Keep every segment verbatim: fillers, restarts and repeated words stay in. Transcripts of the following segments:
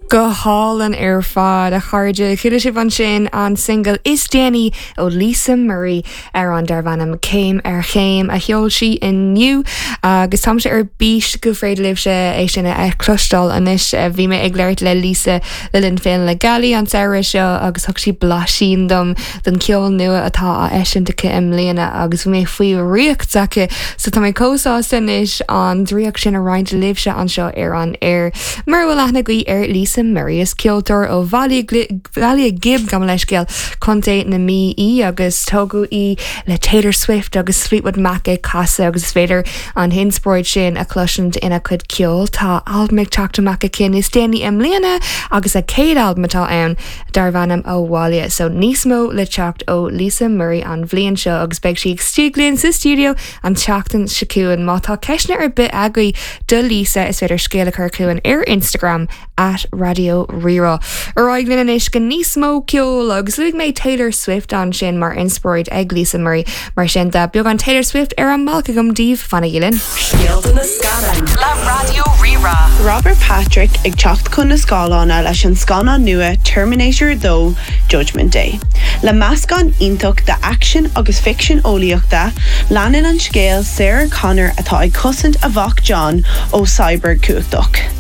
Go hálainn ar fad a chairde chuala sibh ansin an single is déanaí ó Lisa Murray ar an darb ainm Céim ar Chéim a sheol sí inniu agus táimse ar bís go féidir libhse é sin a chloisteáil anois bhí mé ag labhairt le Lisa le linn Féile na Gealaí an samhradh seo agus thug sí blaisín dom den ceol nua atá á eisiúint aici i mbliana agus bhí mé faoi dhraíocht aici so tá mé chomh sásta anois an draíocht sin a roinnt libhse anseo ar an air. Mura bhfuil aithne agaibh ar Lisa Murray is ceoltóir ó Bhaile Ghib gabh mo leithscéal Contae na Mí í agus tógadh í le Taylor Swift agus Fleetwood Mac ag casadh agus is féidir an inspioráid sin a chloisint ina cuid ceoil tá albam ag teacht amach aici níos déanaí i mbliana agus a céad albam atá ann darb ainm Abhaile, so níos mó le teacht ó Lisa Murray an bhliain seo agus beidh sí istigh linn sa studio an tseachtain seo chugainn má tá ceisteanna ar bith agaibh do Lisa is féidir scéal a chur chugainn ar Instagram at Raidió Rí-Rá. Ar aghaidh linn anois go níos mó ceol agus luaigh mé Taylor Swift ansin mar inspioráid ag Lisa Murray mar sin de beagán Taylor Swift ar an mbealach agam daoibh fanaigí linn. Scéalta na scannán le Raidió Rí-Rá. Robert Patrick ag teacht chun na scáileáin leis an scannán nua Terminator dó Judgment Day. Le meascán iontach de action agus ficsean eolaíochta, leanann an scéal Sarah Connor atá ag cosaint a mhac John ó cyborg cumhachtach.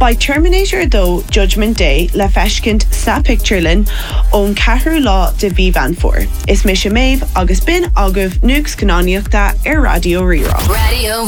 Beidh Terminator dó Judgment Day le feiscint sna pictiúrlanna ón ceathrú lá de mhí Mheán Fómhair. Is mise Méabh agus b'in agaibh nuacht scannánaíochta ar Raidió Rí-Rá. Radio